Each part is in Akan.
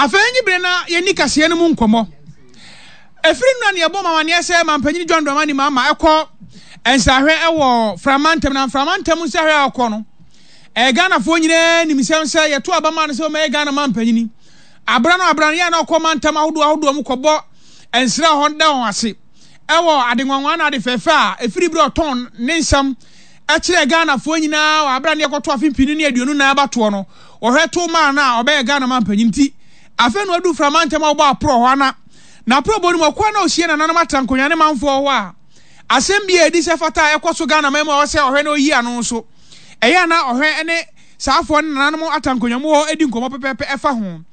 Afei nye bere na yɛnni kaseɛ no mu nkɔmmɔ. Ɛfiri nnora ne yɛbɔ mamaneɛ sɛ Mampanyini John Dramani Mahama ɛkɔ nsrahwɛ ɛwɔ Frama ntam na Mframa ntam nsrahwɛ a ɔkɔ no ɛyɛ Ghanafoɔ nyinaa nim sɛm sɛ yɛto aba maa no sɛ ɔmɛyɛ Ghana mampanyini. Abra no abra no yɛ na ɔkɔ mantam ahodoɔ ahodoɔ mu kɔbɔ nsra hɔ da wɔn ase ɛwɔ ade nwanwa na ade fɛfɛ a ɛfiri berɛ ɔtɔn ne nsɛm kyerɛɛ Ghanafoɔ nyinaa wɔ aberɛ a ne yɛkɔto afe mpini ne 24 abatoɔ no, wɔhwɛ too maa no a ɔbɛyɛ Ghana manpanyin nti, afei na wadu Mframa ntam a wɔbɔ aporɔ hɔ ana. N'aporɔbɔ no mu, ɔkɔ a na ɔhyia nananom atra nkonnwa ne manfoɔ hɔ a, asɛm bi a ɛdi sɛ fata a ɛkɔ so Ghana man mu a ɛwɔ sɛ ɔhwɛ na ɔyi ano nso, ɛyɛ a na ɔhwɛ ne saafoɔ ne nananom atra nkonnwa mu hɔ di nkɔmmɔ pɛpɛɛpɛ ɛfa ho.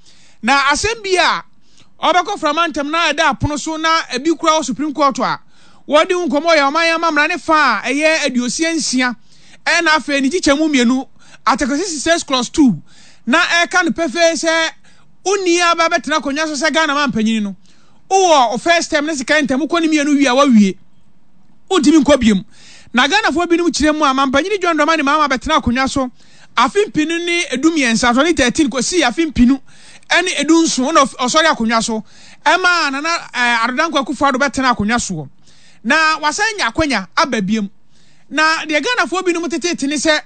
Na asɛm bi a ɔbɛkɔ Mframa ntam na ɛda apono so na ebi kura wɔ Supreme Court a, Wɔde ho nkɔmmɔ yɛ ɔman amammerɛ ne fa a ɛyɛ 66 ɛna afei ne nkyekyɛmu mmienu, Article 66 clause 2, na ɛka no pefee sɛ wonni aba bɛtena akonnwa so sɛ Ghana manpanyin no, wowɔ wo first term ne second term, wokɔ ne mmienu wie a woawie, wontumi nkɔ biom. Na Ghanafoɔ binom kyerɛ mu a, Mampanyini John Dramani Mahama bɛtena akonnwa so afe mpenu ne 13, 2013, kɔsii afe mpenu ne 17 na ɔsɔre akonnwa so. Ɛmaa Nana Addo Dankwa Akufo-Addo bɛtenaa akonnwa soɔ. Na wasan anya akwanya aba biom. Na deɛ Ghanafoɔ binom teteete ne sɛ,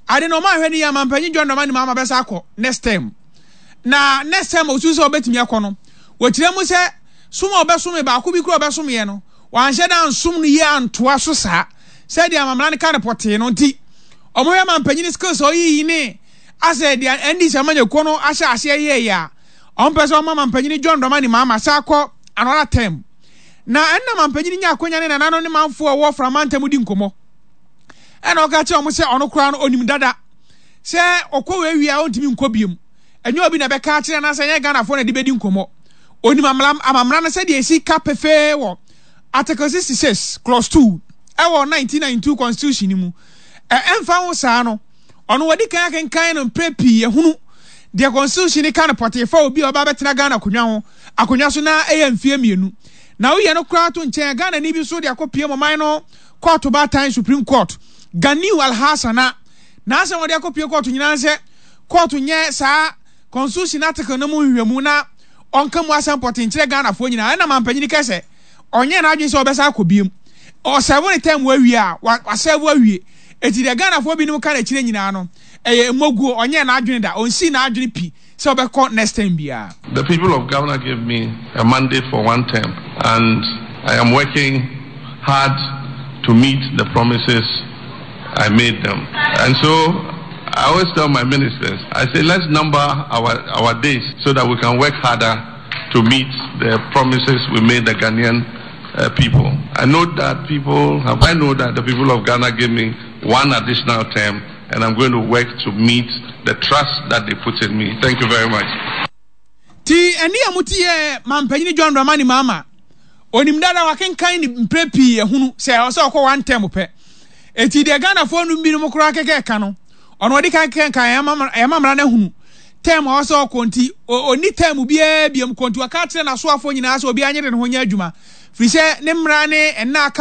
ade no wɔanhwɛ no yie a Mampanyin John Dramani Mahama bɛsan akɔ next term. Na next term a ɔsusu sɛ ɔbɛtumi akɔ no, wɔkyerɛ mu sɛ som a ɔbɛsome baako bi koraa a ɔbɛsomeɛ no, wanhyɛ da ansom no yie antoa so saa sɛdeɛ amammerɛ no ka no pɔtee no nti, wɔhwɛ Mampanyin skills a ɔyiyi ne asɛ deɛ NDC amanyɔkuo no ahyɛ aseɛ yɛeɛ a, Ɔmpɛ sɛ ɔma mampanyini John Dramani Mahama san kɔ another term. Na ɛnna mampanyini nya akonya ne nananom ne manfoɔ a wɔwɔ Fra mantam di nkɔmmɔ. Ɛnna ɔka kyerɛ wɔn sɛ ɔno koraa no ɔnim dada sɛ ɔkɔ wei wie a ɔntumi nkɔ biom. Ɛnyɛ obi na ɛbɛka akyerɛ anaasɛ ɛnyɛ Ghanafoɔ na ɛde bɛdi nkɔmmɔ. Ɔnim amammerɛ no sɛdeɛ ɛsi ka pefee wɔ Article 66 clause 2 ɛwɔ 1992 Constitution no mu. Ɛmfa ho saa no, Ɔno wadi kan akenkan no mprɛ pii ahunu deɛ constitution no ka no pɔtee fa obi a ɔba abɛtena Ghana akonnwa ho akonnwa so na ɛyɛ mfeɛ mmienu. Na woyɛ no koraa to nkyɛn a Ghanani bi nso de akɔpiem ɔman no kɔɔto baatan Supreme Court Ganiu Alhassan a n'asɛm a ɔde akɔpie kɔɔto nyinaa ne sɛ kɔɔto nyɛ saa constitution article no mu nhwehwɛmu na ɔnka mu asɛm pɔtee nkyerɛ Ghanafoɔ nyinaa. Ɛna mampanyini kɛ sɛ ɔnyɛɛ n'adwene sɛ ɔbɛsan akɔ biom. Ɔsɛvo ne term awie a, wasɛvo awie. Enti deɛ Ghanafoɔ binom ka no akyire nyinaa no, ɛyɛ mmoguo. Ɔnyɛɛ n'adwene da. Ɔnsii n'adwene pi sɛ ɔbɛkɔ next term biara. The people of Ghana gave me a mandate for one term and I am working hard to meet the promises I made them. And so I always tell my ministers, I say let's number our, our days so that we can work harder to meet the promises we made the Ghanaian uh, people. I know that people have, I know that the people of Ghana gave me one additional term and I'm going to work to meet the trust that they put in me. Thank you very much. Ti ɛne a mote yɛ mampanyini John Dramani Mahama onim dada wakenkan ne mprɛ pii ahunu sɛ ɛwɔ sɛ ɔkɔ one term pɛ. Eti deɛ Ghanafoɔ no binom koraa kɛkɛ ka no ɔno ɔde kan kan kan ɛma mmara no ahunu term a ɔwɔ sɛ ɔkɔ nti ɔnni term biara biom kɔ nti waka akyerɛ n'asoafoɔ nyinaa sɛ obiara nyere ne ho nyɛ adwuma firi sɛ ne mmara ne nna aka wɔ